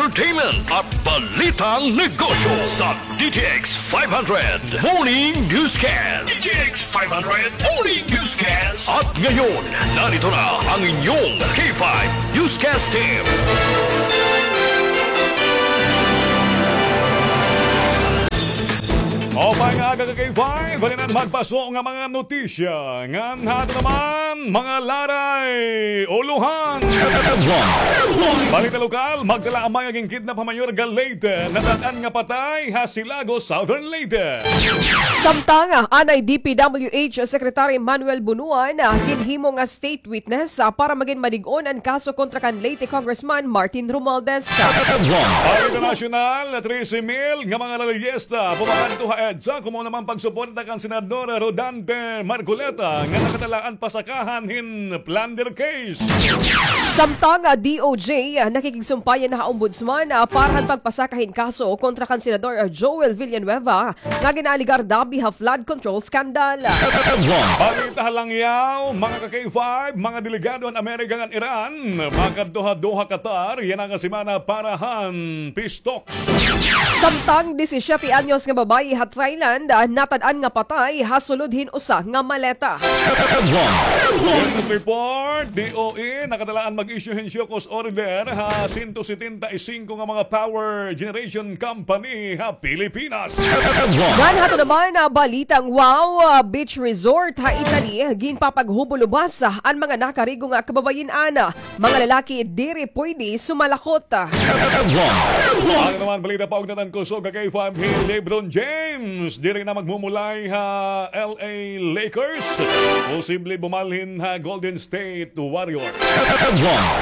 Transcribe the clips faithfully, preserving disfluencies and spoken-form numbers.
entertainment at balitang negosyo sa D T X five hundred Morning Newscast. D T X five hundred Morning Newscast. At ngayon, narito na ang inyong K five Newscast Team. Maupay nga aga ka K five, balinan magpaso nga mga notisya. Ngan hato naman, mga laray, uluhan. Balita lokal, magdala amay nga ginkidnap ha Mayor ga Leyte, natad-an nga patay ha Silago, Southern Leyte. Samtang, anay D P W H Secretary Manuel Bunuan, ginhimo nga state witness, ah, para magin malig-on an kaso kontra kan Leyte Congressman Martin Romualdez. Balita nasyonal, trese mil nga mga rallyista pumakadto ha EDSA, kumaon naman pagsuporta kan Senador Rodante Marcoleta nga nakatalaan pasakahan hin plunder case. Samtang, ah, D O J, ah, nakikigsumpayan ha Ombudsman, ah, para han pagpasaka hin kaso kontra kan Senador, ah, Joel Villanueva nga gin-aalegar dabi ha flood control scandal. Balita ha langyaw, mga ka-K five, mga delegado han Amerika ngan Iran makadto ha Doha, Qatar yana nga semana para han peace talks. Samtang disisiete anyos nga babaye ha Thailand, ah, natad-an nga patay ha sulod hin usa nga maleta. Business report, D O E, nakatalaan mag-issue hin show cause order ha sento setenta y singko nga mga power generation company ha Pilipinas. Ngan hato naman, ah, balitang wow, ah, beach resort ha Italy, ginpapaghubol-ubas, ah, an mga nakarigo nga kababayin-an. Mga lalaki diri pwede sumalakot. Ano naman balita pa og natangkoso ka K five hi LeBron James? Diri na magmumulay ha L A Lakers. Posible bumalhin ha Golden State Warriors.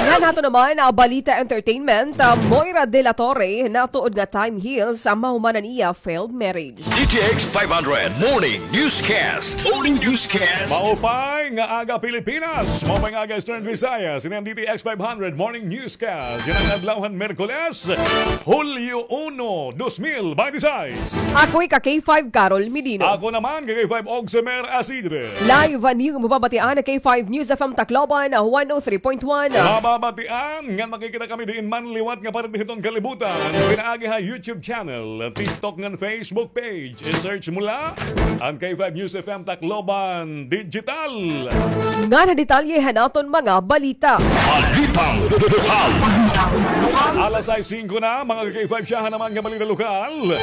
Ngan hato naman, ah, balita entertainment, ah, Moira de la Torre, natuod nga time heals, ah, mahuman an iya failed marriage. D T X five hundred Morning Newscast. Morning Newscast. Maupay nga aga, Pilipinas. Maupay nga aga, Eastern Visayas. Ini an D T X five hundred Morning Newscast. Yana nga adlaw han Miyerkules, Hulyo uno, dos mil binte seis. Ako hi ka K five Carol Medino. Ako naman, ka K five Ogsemer Asidre. Live an iyo mababatian ha K five News F M Tacloban, one oh three point one. Mababatian ngan makikita kami diin man liwat nga parte hiton kalibutan. Pinaagi ha YouTube channel, TikTok ngan Facebook page. I-search mo la an K five News F M Tacloban Digital. Ngan ha detalye han aton mga balita. Balitang lokal. Alas sais singko na, mga ka K five, syahan naman nga balita lokal.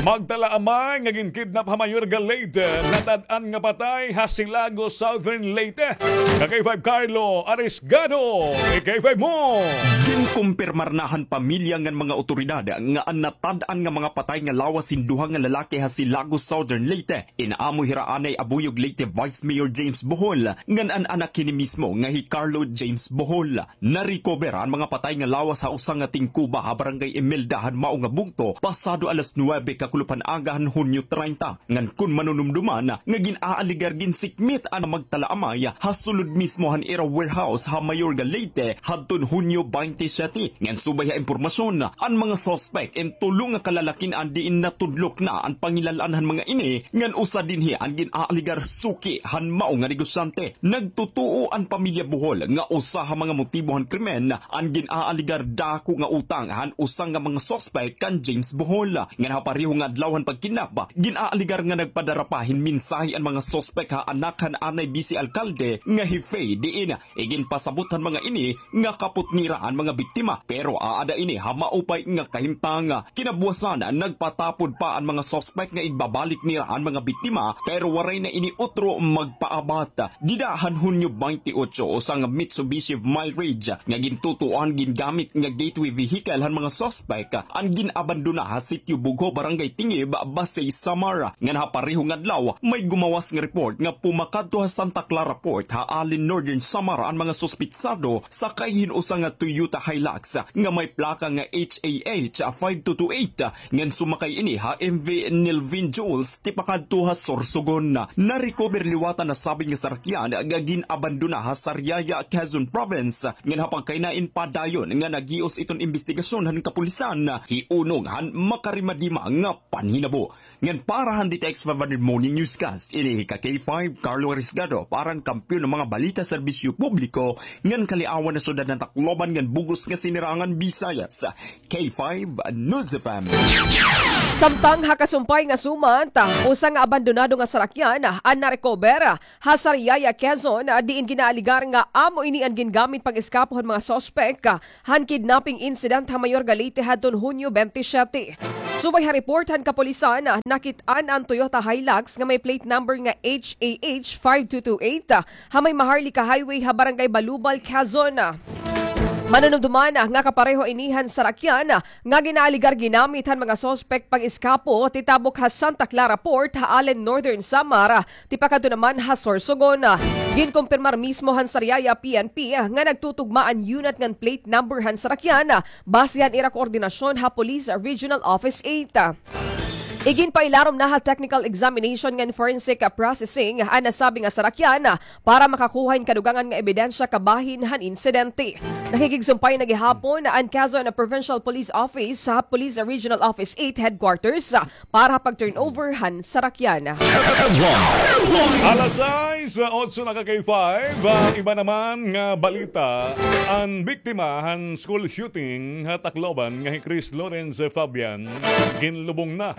Magdala amay nga ginkidnap ha Mayor ga Leyte, natad-an nga patay ha Silago, Southern Leyte. Ka K five Carlo Arisgado, i-K five mo. Ginkumpirmar na han pamilya ngan mga awtoridad nga an natad-an nga mga patay nga lawas hin duha nga lalaki ha Silago, Southern Leyte, in amo hira anay Abuyog Leyte Vice Mayor James Bohol ngan an anak hini mismo nga hi Carlo James Bohol. Na-recover an mga patay nga lawas ha usa nga tingkuba ha Barangay Imelda han mao nga bungto, pasado alas nuwebe kakulop han aga han Hunyo treinta. Ngan kon manunumduman nga gin-aaligar ginsikmit an magtalaamay ha sulod mismo han ira warehouse ha Mayor ga Leyte hadton Hunyo baynte siyete. Ngan subay ha impormasyon, an mga suspek in tulo nga kalalakin-an diin natudlok na an pangilal-an han mga ini, ngan usa dinhi an gin-aaligar suki han mao nga negosyante. Nagtutuo an pamilya Bohol nga usa ha mga motibo han krimen an gin-aaligar dako nga utang han usa nga mga suspek kan James Bohol. Ngan ha pareho nga adlaw han pagkidnap, gin-aaligar nga nagpadara pa hin mensahe an mga suspek ha anak han anay bise alkalde nga hi Faye, diin iginpasabot han mga ini nga kapot nira an mga biktima. Pero aada ini ha maupay nga kahimtang. Kinabuwasan, nagpatapod pa an mga suspek nga igbabalik nira an mga biktima, pero waray na ini utro magpaabat. Dida han Hunyo baynte otso, usa nga Mitsubishi Mirage nga gintutuohan gingamit nga gateway vehicle han mga suspek an gin-abandona ha Sitio Bugho, Barangay Tingib, Basey, Samar. Ngan ha pareho nga adlaw, may gumawas nga report nga pumakadto ha Santa Clara Port ha Allen, Northern Samar an mga suspitsado sakay hin usa nga Toyota Hilux nga may plaka nga H A H five two two eight, ngan sumakay ini ha M V Nelvin Jules tipakadto ha Sorsogon. Na-recover liwat an nasabi nga sarakyan nga gin-abandona ha Sariaya, Quezon Province, ngan ha pagkainain padayon nga naghios iton imbestigasyon han kapulisan, hiunong han makarimadima nga panhinabo. Ngan para han D T X five hundred Morning Newscast, ini hi ka K five Carlo Arisgado para han Kampiyon Kampiyon han mga balita, serbisyo publiko ngan kaliawan han syudad han Tacloban ngan bug-os nga sinirangan Visayas, K five News F M. Samtang ha kasumpay nga sumat, usa nga abandonado nga sarakyan an narecover ha Sariaya, Quezon, diin ginaaligar nga amo ini an gingamit pag-eskapo han mga suspek han kidnapping incident ha Mayor ga Leyte hadton Hunyo twenty-seven. Subay ha report han kapulisan, nakit-an an Toyota Hilux nga may plate number nga H A H five two two eight ha may Maharlika Highway ha Barangay Balubal, Quezon. Manunumduman nga kapareho ini han sarakyan nga ginaaligar ginamit han mga suspek pag-eskapo titabok ha Santa Clara Port ha Allen, Northern Samar, tipakadto naman ha Sorsogon. Ginkumpirmar mismo han Sariaya P N P nga nagtutugma an unit ngan plate number han sarakyan, base han ira koordinasyon ha Police Regional Office eight. Iginpailarom na ha technical examination ngan forensic processing an nasabi nga sarakyan para makakuha hin kadugangan nga ebidensya kabahin han insidente. Nakikigsumpay na gihapon an Quezon Provincial Police Office ha Police Regional Office eight Headquarters para ha pag-turnover han sarakyan. Alas sais, otso na ka K five. Ah, iba naman nga balita, an biktima han school shooting ha Tacloban nga hi Chris Lawrence Fabian, ginlubong na.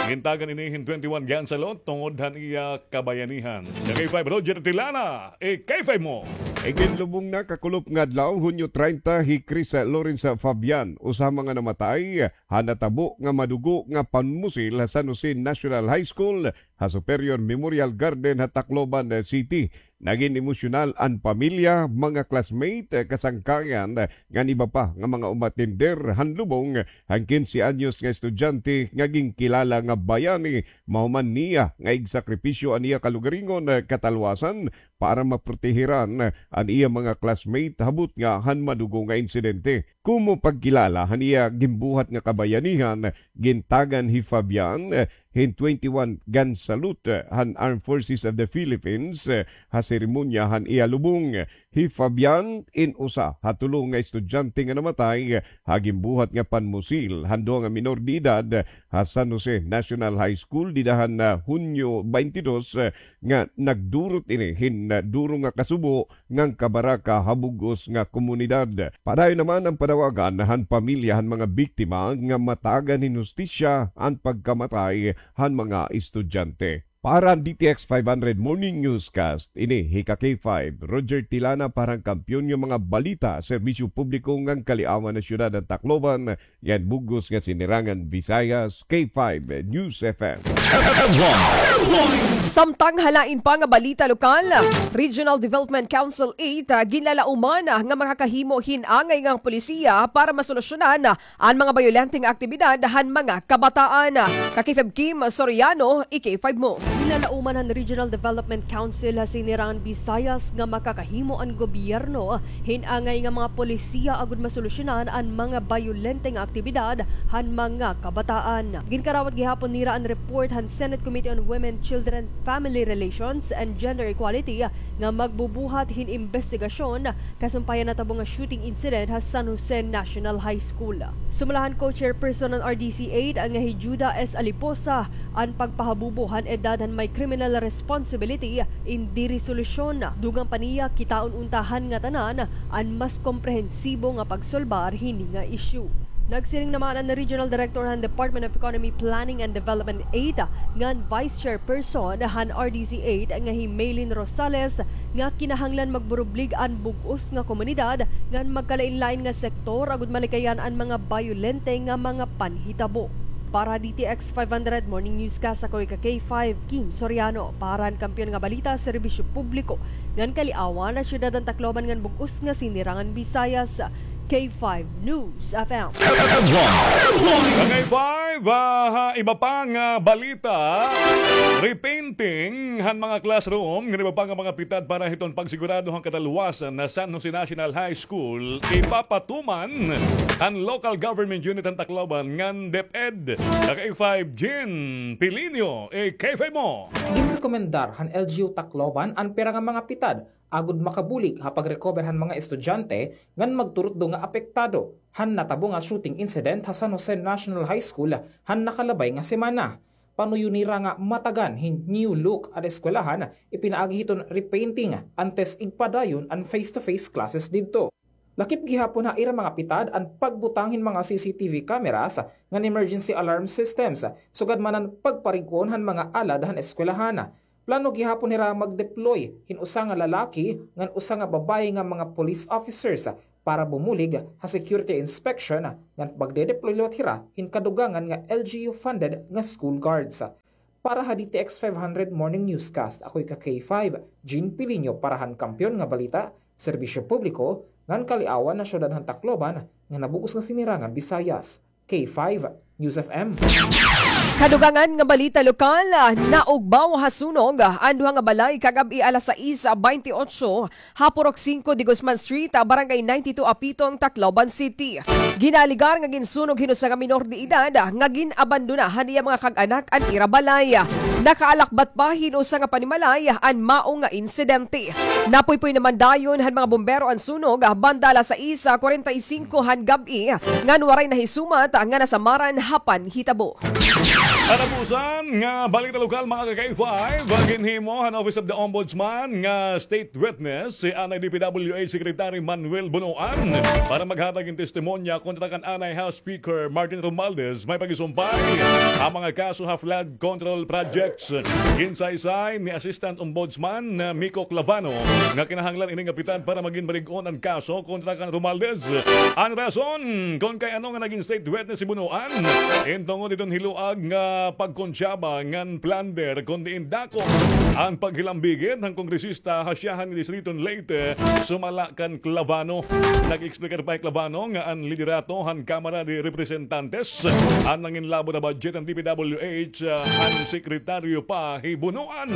Gintagan ini hin twenty-one gun salute tungod han iya kabayanihan. Ka K five, Roger Tilana, i-K five mo. Iginlubong na kakulop nga adlaw, Hunyo treinta, hi Chris Lawrence Fabian, usa ha mga namatay ha natabo nga madugo nga panmusil ha San Jose National High School ha Superior Memorial Garden ha Tacloban City. Nagin emosyonal an pamilya, mga classmate, kasangkayan, ngan iba pa nga mga umatender han lubong han kinse anyos nga estudyante nga ginkilala nga bayani, mahuman niya nga igsakripisyo an iya kalugaringon, katalwasan para maprotehiran an iya mga classmate ha butnga han madugo nga insidente. Komo pagkilala han iya ginbuhat nga kabayanihan, gintagan hi Fabian, eh, hin twenty-one gun salute, eh, han Armed Forces of the Philippines, eh, ha seremonya han iya lubong. Hi Fabian in usa ha tulo nga estudyante nga namatay, eh, ha ginbuhat nga panmusil han duha nga minor de edad, eh, ha San Jose National High School dida han, ah, Hunyo twenty-two, eh, nga nagdurot ini hin, ah, duro nga kasubo ngan kabaraka ha bug-os nga komunidad. Padayon naman an panawagan han pamilya han mga biktima nga matagan hin hustisya an pagkamatay han mga estudyante. Para han D T X five hundred Morning Newscast, ini hi ka K five, Roger Tilana, para han Kampiyon nga mga balita, serbisyo publiko ngan kaliawan han syudad han Tacloban, ngan bug-os nga sinirangan Visayas, K five News F M. Samtang ha lain pa nga balita lokal, Regional Development Council eight, ah, ginlalauman, ah, nga makakahimo hin angay nga polisiya para masolusyonan, ah, an mga bayolente nga aktibidad han mga kabataan. Ka K five Kim Soriano, i-K five mo. Ginlalauman han Regional Development Council ha Sinirangan Visayas nga makakahimo an gobyerno hin angay nga mga polisiya agod masolusyonan an mga bayolente nga aktibidad han mga kabataan. Ginkarawat gihapon nira an report han Senate Committee on Women, Children, Family Relations, and Gender Equality nga magbubuhat hin imbestigasyon kasumpay han natabo nga shooting incident ha San Jose National High School. Sumala han co-chairperson han R D C eight nga hi Juda S. Aliposa, an pagpahabubo han edad han may criminal responsibility indi resolusyon. Dugang pa niya, kitaon unta han ngatanan an mas komprehensibo nga pagsolbar hini nga isyu. Nagsiring naman an Regional Director han Department of Economy, Planning and Development eight ngan Vice Chairperson han R D C eight nga hi Maylin Rosales nga kinahanglan magburublig an bug-os nga komunidad ngan magkalain-lain nga sektor agod malikayan an mga bayolente nga mga panhitabo. Para D T X five hundred Morning Newscast, ako hi ka K five, Kim Soriano. Para han Kampiyon nga Balita, serbisyo publiko ngan kaliawan han syudad han Tacloban ngan bug-os nga sinirangan Visayas, K five News F M. Ka K five, ah, ha iba pa nga balita, repainting han mga classroom ngan iba pa nga mga pitad para hiton pagsigurado han katalwasan ha San Jose National High School, ipapatuman han Local Government Unit han Tacloban ngan DepEd. Ka K five, Jin Pilinio, i-K five mo. Ginrekomendar han L G U Tacloban an pira nga mga pitad agod makabulig ha pag-recover han mga estudyante ngan magturutdo nga apektado han natabo nga shooting incident ha San Jose National High School han nakalabay nga semana. panuyo nira nga matagan hin new look an eskwelahan, ipinaagi hiton repainting, antes igpadayon an face-to-face classes didto. Lakip gihapon ha ira mga pitad an pagbutang hin mga C C T V cameras ngan emergency alarm systems, sugad man an pagparig-on han mga alad han eskwelahan. Plano gihapon hira mag-deploy hin usa nga lalaki ngan usa nga babaye nga mga police officers para bumulig ha security inspection ngan magde-deploy liwat hira hin kadugangan nga L G U funded nga school guards. Para ha D T X five hundred Morning Newscast, ako'y ka K five, Jean Piliño para han Kampiyon nga Balita, Serbisyo Publiko, ngan Kaliawan na Syudad han Tacloban, nga nabug-os nga sinirangan Visayas. K five News F M. Kadugangan nga balita lokal, ah, naugbaw ha sunog, ah, an duha nga balay kagab-i alas sais baynte otso ha Purok singko de Guzman Street, ah, Barangay ninety-two Apitong, Tacloban City. Ginaalegar nga ginsunog hin usa nga minor de edad, ah, nga gin-abandona han iya mga kag-anak an ira balay. Nakaalakbat pa hin usa nga panimalay an mao nga insidente. Napuypoy naman dayon han mga bumbero an sunog, ah, banda alas sais kwarenta y singko han gab-i, ngan waray nahisumat, ah, nga nasamaran ha panhitabo. Katapusan nga balita lokal, mga ka-K five, ginhimo han Office of the Ombudsman nga state witness si anay D P W H Secretary Manuel Bonoan para maghatag hin testimonya kontra kan anay House Speaker Martin Romualdez may pag-isumpay ha mga kaso ha flood control projects. Ginsaysay ni Assistant Ombudsman, uh, Miko Clavano nga kinahanglan ini nga pitad para magin malig-on an kaso kontra kan Romualdez. An rason kon kay ano nga nagin state witness si Bonoan, in tungod hiton hiluag nga pagkontsaba ngan plunder, kon diin dako an paghilambigit han kongresista ha syahan nga distrito han Leyte, sumala kan Clavano. Nag-explicar pa hi Clavano nga an liderato han Kamara de Representantes an nanginlabot ha budget han D P W H, ah, han sekretaryo pa hi Bonoan.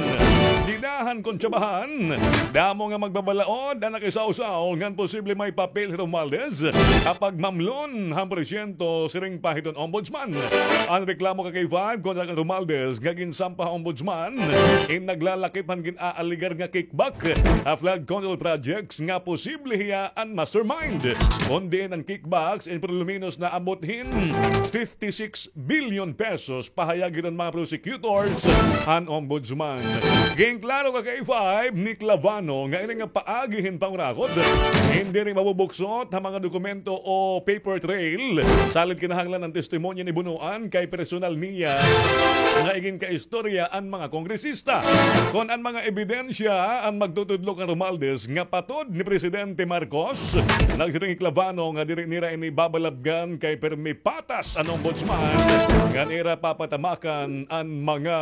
Dida han kontsabahan, damo nga magbabalaod an nakisawsaw ngan posible may papel hi Romualdez ha pagmamlon han porsyento, siring pa hiton ombudsman. An reklamo ka K five kontra kan Romualdez nga ginsampa ha ombudsman in naglalakip han gin-aalegar nga kickback ha flood control projects nga posible hiya an mastermind. Kon diin an kickbacks in por lo menos naabot hin fifty-six billion pesos, pahayag hiton mga prosecutors han ombudsman. Ginklaro ka K five ni Clavano nga ini nga paagi hin pangurakot in diri mabubuksot ha mga dokumento o paper trail. Salit kinahanglan an testimonya ni Bonoan kay personal niya nga iginkaistorya an mga kongresista. Kon an mga ebidensya an magtutudlo kan Romualdez nga patod ni Presidente Marcos, nagsiring hi Clavano nga diri nira ini babalabgan kay pirmi patas an ombudsman ngan ira papatamakan an mga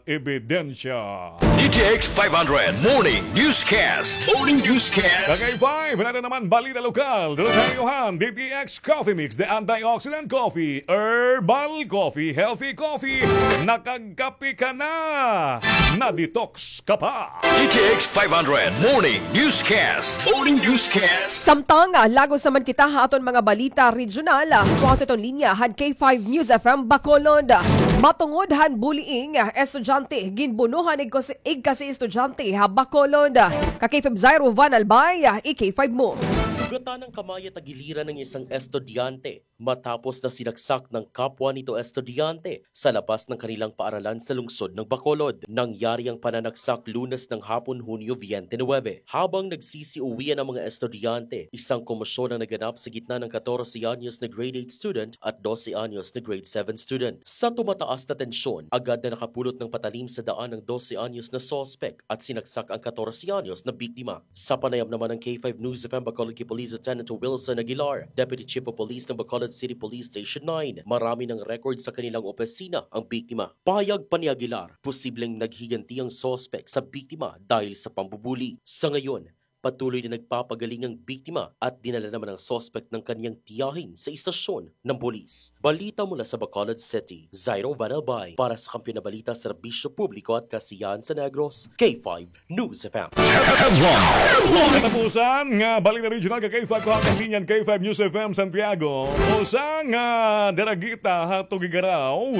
ebidensya. D T X five hundred Morning Newscast. Morning Newscast. Kagay five, nato naman balita lokal. Dulot ha iyo han D T X Coffee Mix, the antioxidant coffee, herbal coffee, healthy coffee. Nakagkape ka na, na-detox ka pa. D T X five hundred Morning Newscast. Morning Newscast. Samtang, ah, lagos naman kita ha aton mga balita regional, ah, kuha aton linya han K five News F M Bacolod. Matungod han bullying, ah, estudyante, ginbuno han igkasi, igkasi estudyante ha Bacolod. Ka K five Zairo Van Albay, ah, i K five mo. Sugatan ang kamay at tagiliran ng isang estudyante matapos na sinaksak ng kapwa nito estudyante sa labas ng kanilang paaralan sa lungsod ng Bacolod. Nangyari ang pananaksak Lunes ng hapon, Hunyo twenty-nine, habang nagsisiuwian ang mga estudyante. Isang komosyon ang naganap sa gitna ng katorse anyos na grade eight student at dose anyos na grade seven student. Sa tumataas na tensyon, agad na nakapulot ng patalim sa daan ang dose anyos na suspek at sinaksak ang katorse anyos na biktima. Sa panayam naman ng K five News F M Bacolod kay Police Lieutenant Wilson Aguilar, Deputy Chief of Police ng Bacolod City Police Station nine, marami ng record sa kanilang opisina ang biktima. Pahayag pa ni Aguilar, posibleng naghiganti ang suspek sa biktima dahil sa pambubuli. Sa ngayon, patuloy na nagpapagaling ang biktima at dinala naman ang suspek ng kaniyang tiyahin sa istasyon ng pulis. Balita mula sa Bacolod City, Zairo Van Albay para sa Kampiyon na Balita, Serbisyo Publiko at Kasiyahan sa Negros, K five News F M. Katapusan nga balita regional ka K five, kuha aton linya han K five News F M Santiago. Usa nga daragita ha Tuguegarao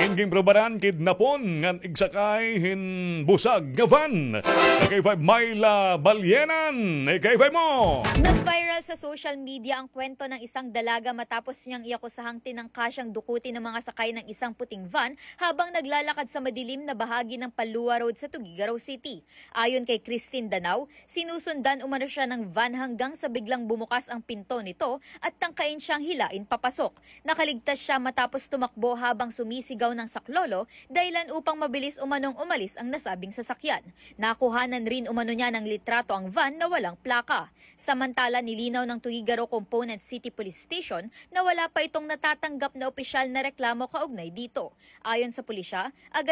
in ginprobaran kidnapon ngan igsakay hin busag nga van. Ka K five, Myla Balyera. Kanan, ika-five mo. Nag-viral sa social media ang kwento ng isang dalaga matapos niyang iakusahang tinangka siyang dukutin ng mga sakay ng isang puting van habang naglalakad sa madilim na bahagi ng Palua Road sa Tuguegarao City. Ayon kay Christine Danao, sinusundan umano siya ng van hanggang sa biglang bumukas ang pinto nito at tangkain siyang hilain papasok. Nakaligtas siya matapos tumakbo habang sumisigaw ng saklolo, dahilan upang mabilis umanong umalis ang nasabing sasakyan. Nakuhanan rin umano niya ng litrato ang van na walang plaka. Samantala, nilinaw ng Tuguegarao Component City Police Station na wala pa itong natatanggap na opisyal na reklamo kaugnay dito. Ayon sa pulisya, agad